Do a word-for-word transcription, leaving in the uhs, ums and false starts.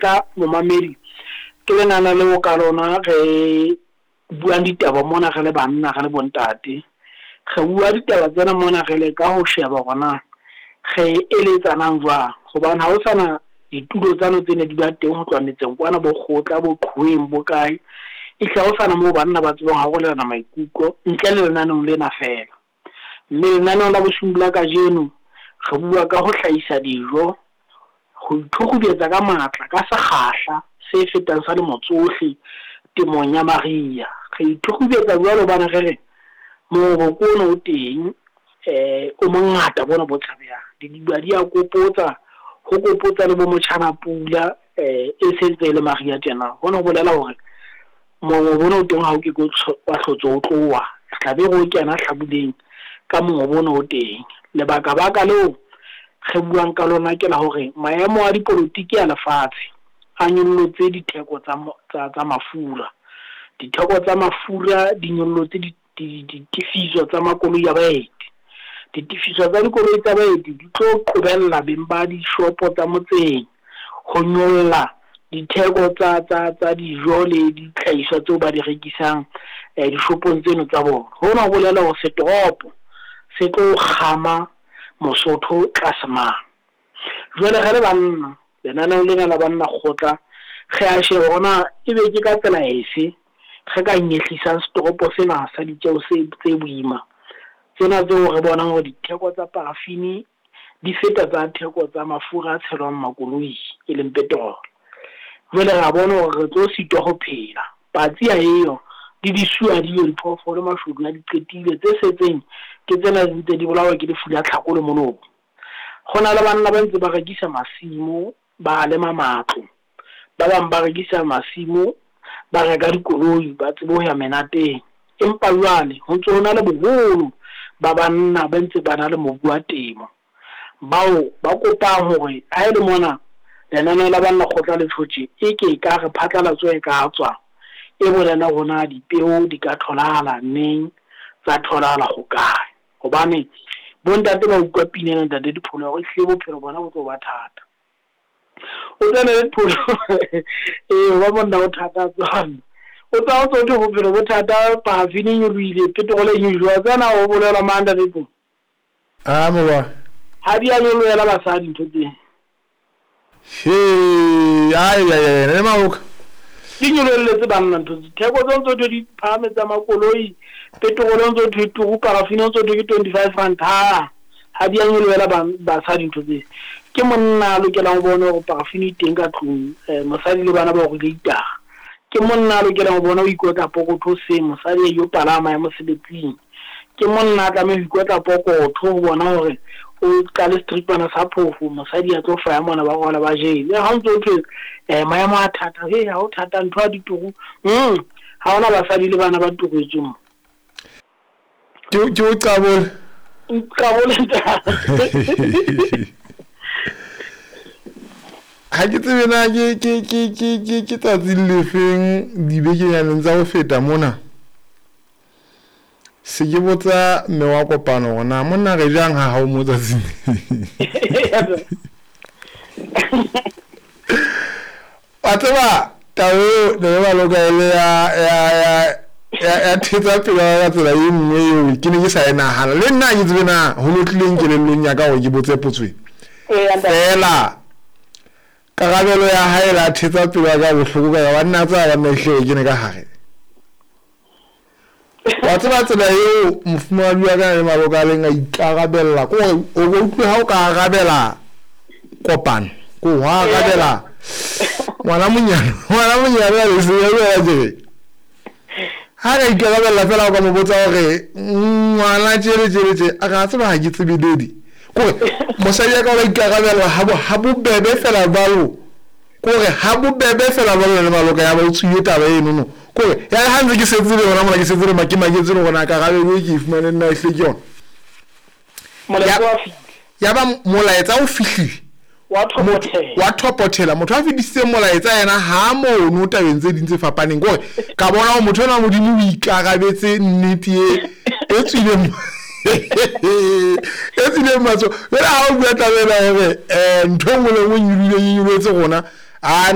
Ka momamedi ke lenana leo ka lona re buang ditaba mona re le banna re le bontate. Re bua ditaba tsena mona re leka ho sheba hore na re eletsanang jwang, hobane ha ho sana ditulo tsane tse ne di ba teng ho tloha metseng kwana bo kgotla bo qhoweng bo kae. Ehlile ha ho sana moo banna ba tsebang ho arolelana maikutlo ntle le lenaneong lena feela. Mme lenaneong la bosiung la kajeno re bua ka ho hlahisa dijo, ho ithukgubetsa ka matla ka sekgahla se fetang sa lemo tsohle temong ya mariha. Re ithukgubetsa jwalo hobane re re mongobo ke ona o teng, eh o mongata bona bo tshabehang. Didiba di a kopotsa, ho kopotsa le bo motjhana pula, eh e sentse e le mariha tjena. Hona ho bolela hore mongobo ona o teng ha o ke ke wa hlotse o tloha, re tla be re o kena hlabuleng ka mongobo ona o teng. Lebaka baka leo re buang ka lona ke la hore maemo a dipolotiki a lefatshe a nyollotse ditheko tsa tsa tsa mafura. Ditheko tsa mafura di nyollotse ditefiso tsa makoloi a baeti. Ditefiso tsa dikoloi tsa baeti di tlo qobella beng ba dishopo tsa motseng ho nyolla ditheko tsa tsa tsa dijo le dihlahiswa tseo ba di rekisang eh dishopong tseno tsa bona. Hona ho bolela hore setoropo se tlo kgama Mosotho tlase mane. Jwale re le banna, lenaneong lena la banna kgotla, re a sheba hore na ebe ke ka tsela efe re ka nyehlisang setoropo sena sa ditjeho se tse boima. Tsena tseo re bonang hore ditheko tsa paraffin di feta tsa theko tsa mafura a tshelwang makoloi e leng petrol. Jwale re a bona hore re tlo sitwa ho phela. Patsi ha eyo, le disuwa di yo, diphoofolo mashodu a di qetile, tse setseng ke tsena di ntse di bolawa ke lefu la tlhako le molomo. Ho na le banna ba ntse ba rekisa masimo, ba lema matlo, ba bang ba rekisa masimo, ba reka dikoloi, ba tsebe ho ya menateng. Empa jwale ho ntso ho na le boholo ba banna ba ntse ba na le mobu wa temo, bao ba kopang hore ha e le mona lenaneo la banna kgotla le tjhotjhe e ke ka re phatlalatso e ka tswa e bolela hore na dipeo di ka tholahala neng, tsa tholahala ho kae. Hobane bontate ba utlwa pina ena ntate Dipholo hore ehlile bophelo bona bo tlo ba thata. O tsene le Dipholo ee ba monna o thata tswana. O tsa o tsotho bophelo bo thata, paraffin e nyolohile, petrol e nyolohile. Wa tsena ho bolelwa mang ntate Dipholo? Ah mowa. Ha di a nyolohela basadi ntho tsena. He, ai ai ai, le maoka. Di nyolohelletse banna ntho tse. Theko tse ntse di phahame tsa makoloi, petrol ntse thwe turu, paraffin ntse thwe ke twenty-five rand. Ha ha di a nyolohela basadi ntho tse. Ke monna a lokelang ho bona hore paraffin e teng ka tlung, eh mosadi le bana ba hore itara. Ke monna a lokelang ho bona ho ikotla pokotho hoseng, mosadi a yo palama ya mosebetsing. Ke monna a tlameha ho ikotla pokotho ho bona hore o qale stripana sa phofo, mosadi a tlo faya mona ba rwala ba jele. Ha o ntso thwe eh maemo a thata, he ha o thata ntho ya dituru. Mm, ha hona basadi le bana ba turetsweng mo. Ke ke o qabole. Nqabole ntate. Ha ke tsebe na ke ke ke ke ke ke tsatsi le feng dibekenyaneng tsa ho feta mona. Se ke botsa mme wa kopano hore na monna re jang ha hao mo tsatsing. Wa tseba taba eo ne le baloka e le ya ya ya ya ya thetsa pelo ya ka tsela e nngwe eo ke ne ke sa e nahana. Le nna ha ke tsebe na ho no tlileng kelellong ya ka hore ke botse potso e. Feela karabelo ya hae la thetsa pelo ya ka bohloko ka ba nna tsa ba nna ehlile ke ne ka hare. Wa tseba tsela eo mofumahadi wa ka le maloka a leng a ikarabella ko hore o bo utlwe ha o ka arabela kopano ko ho arabela ngwana monyane ngwana monyane a le se ya jere ha ka ikarabella fela o ka mo botsa hore ngwana tjele tjele tje a ka tseba ha ke tsebe dedi kore mosadi ya ka o ikarabella ha bo ha bobebe fela jwalo kore ha bobebe fela jwalo le maloka ya ba o tswile taba eno no kore ya ha ntse ke setse le hona mona ke setse le ma ke maketse le hona karabelo e ke e fumane nna ehlile ke yona. Molaetsa wa fihlile. Ya ba molaetsa o fihlile. Wa thopothela. Wa thopothela. Motho a fetisitseng molaetsa yena ha mono tabeng tse ding tse fapaneng kore ka bona hore motho enwa Modimo o ikarabetse nnete e e tswileng e tswileng matsoho. Jwale ha o bua taba ena hore eh ntho e nngwe le nngwe e nyolohile e nyolohetse rona, a